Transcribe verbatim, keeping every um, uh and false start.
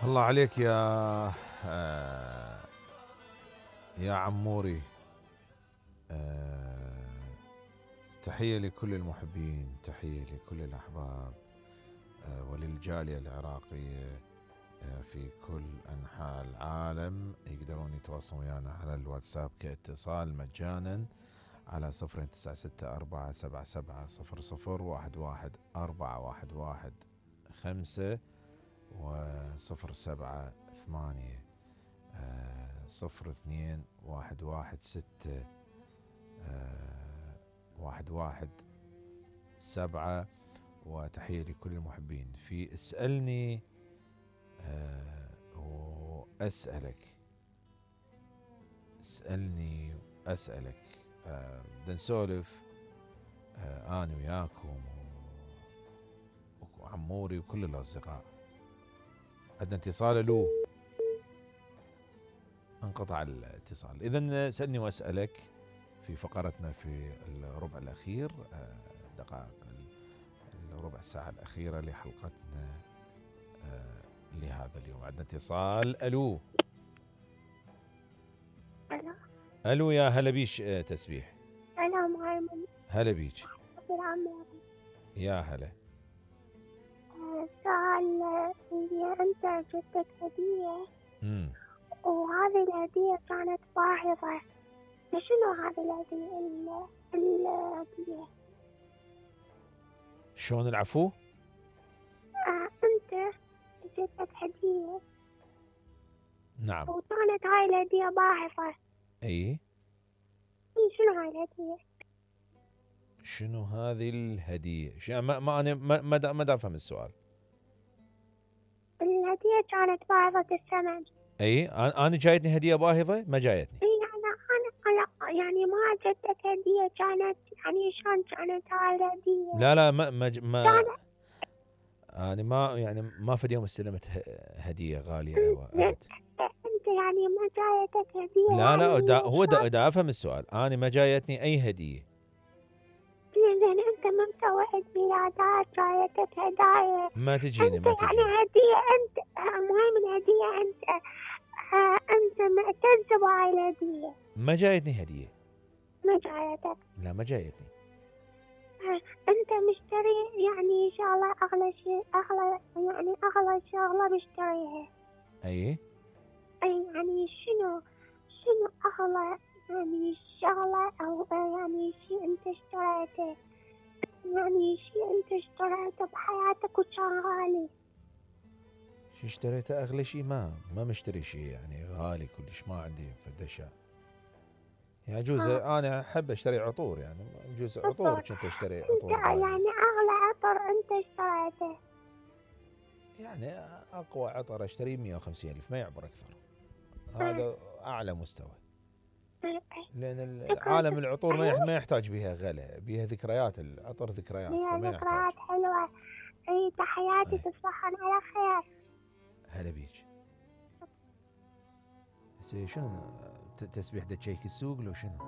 الله عليك يا آه يا عموري. آه تحية لكل المحبين، تحية لكل الأحباب، آه وللجالية العراقية آه في كل أنحاء العالم. يقدرون يتواصلون ويانا على الواتساب كاتصال مجانا على صفر تسعة ستة أربعة سبعة سبعة صفر صفر واحد واحد أربعة واحد واحد خمسة وصفر سبعة ثمانية صفر اثنين واحد واحد ستة واحد واحد سبعة. وتحية لكل المحبين في اسألني وأسألك. اسألني وأسألك. بدنا نسولف أنا وياكم وعموري وكل الأصدقاء. عندنا اتصال. له انقطع الاتصال. إذن سألني وأسألك في فقرتنا في الربع الأخير، دقائق الربع ساعة الأخيرة لحلقتنا لهذا اليوم. عندنا اتصال. ألو ألو ألو يا هلا بيش تسبيح. أنا مهيمن. هلا بيش بالعمر. يا هلا. سؤال، إذا أنت جبتك هدية امم وهذه الهدية كانت باهظة، فشنو هذه الهدية ال- الهدية؟ شلون العفو؟ آه أنت جبتك هدية نعم. وكانت هاي الهدية باهظة. اي شنو هاي الهدية؟ شنو هذه الهدية؟ شو ما ما انا ما ما دا, ما دا افهم السؤال. الهدية كانت باهظة الثمن. اي انا انا جايتني هدية باهظة؟ ما جايتني. اي انا انا انا يعني ما جبتك هدية كانت، يعني شلون كانت هاي الهدية؟ لا لا ما ما, ما كانت انا ما يعني ما في يوم استلمت هدية غالية ابد. انت يعني ما جايتك هدية؟ لا لا يعني دا هو دا, دا افهم السؤال. انا ما جايتني اي هدية. لأن أنت من مسوي عيد ميلادات جايتك هدايا. ما تجيني أنت ما يعني تجيني هدية، أنت مهم الهدية، أنت آه أنت معتز بهاي الهدية. ما جايتني هدية. ما جايتك؟ لا ما جايتني. آه أنت مشتري يعني شغلة أغلى شيء، أغلى يعني أغلى شغلة مشتريها. اي أي يعني شنو شنو أغلى يعني شغلة أو يعني شيء أنت اشتريته، يعني شيء أنت اشتريته بحياتك وكان غالي؟ شو اشتريته اغلى شيء؟ ما ما مشتري شيء يعني غالي كلش. ما عندي فد اشياء. يعني جوز آه. انا احب اشتري عطور، يعني جوز عطور عطور. كنت اشتري انت عطور غالية. يعني اغلى عطر انت اشتريته؟ يعني اقوى عطر اشتريه مية وخمسين الف، ما يعبر اكثر. هذا اعلى مستوى. لان عالم العطور ما ما يحتاج بها غلا، بها ذكريات. العطر ذكريات فيها فما يحتاج. ذكريات حلوة. اي تحياتي، تصبحون على خير. هلا بيك. شنو تسبيح دا تشيك السوق لو شنو؟